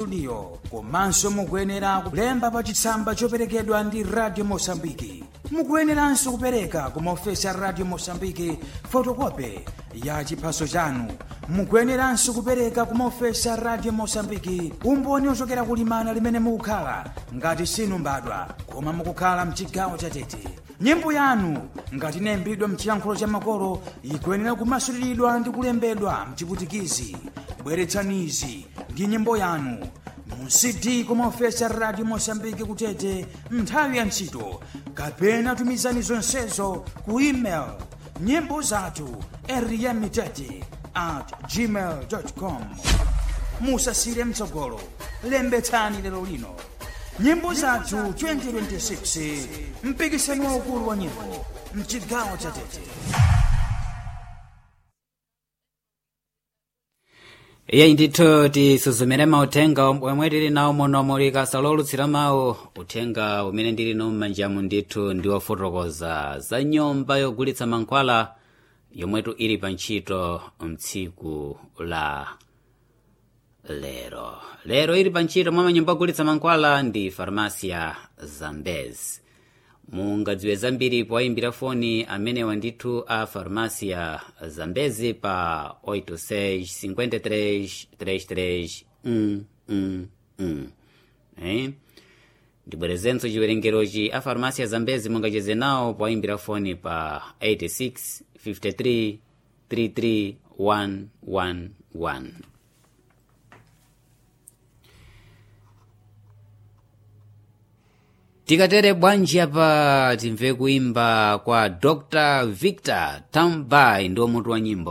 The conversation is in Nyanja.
Studio. Komanso mukuyenera kulemba pa chitsamba choperekedwa ndi Radio Mosambiki. Mukuyeneranso kupereka ku maofesi a Radio Mosambiki fotokope ya chiphaso chanu. Mukuyeneranso kupereka ku maofesi a Radio Mosambiki umboni ochokera kulimana limene mukukhala ngati sinu mbadwa koma mukukhala mchigawo chatete. Nyimbo yanu ngati inayimbidwa mchiyankhulo cha makolo ikuyenera kumasuliridwa ndi kulembedwa mchiputikizi. Bweretsanizi ndi nyimbo yanu mu CD kumaofesi a Radio Mosambiki kutete nthawi ya ntchito, kapena tumizani zonsezo ku email nyimbo zathu eriyamitete at gmail com. Musasire mtsogolo, lembetsani lero lino. Nyimbo Zathu 2026, mpikisano waukulu wa nyimbo mchigawo cha Tete. Iye ndithu, tisuzumire mauthenga omwe tili nawo muno muli kasalolutsira mawu. Uthenga umene ndili nawo m'manjamu ndithu ndi wofotokoza za nyumba yogulitsa mankhwala yomwetu ili pa ntchito mtsiku la lero. Lero ili pa ntchito mwa manyumba ogulitsa mankhwala ndi Farmasia Zambez. Mungadziwe zambiri powayimbira foni amenewa ndithu a Farmasia Zambezi pa 86 53 33 111. Eh? Ndibwerezenso chiwerengerochi: a Farmasia Zambezi mungacheze nawo powayimbira foni pa 86 53 33 111. Tikatere bwanji apa timve kuimba kwa Dr Victor Tambay, ndiwo mutu wa nyimbo.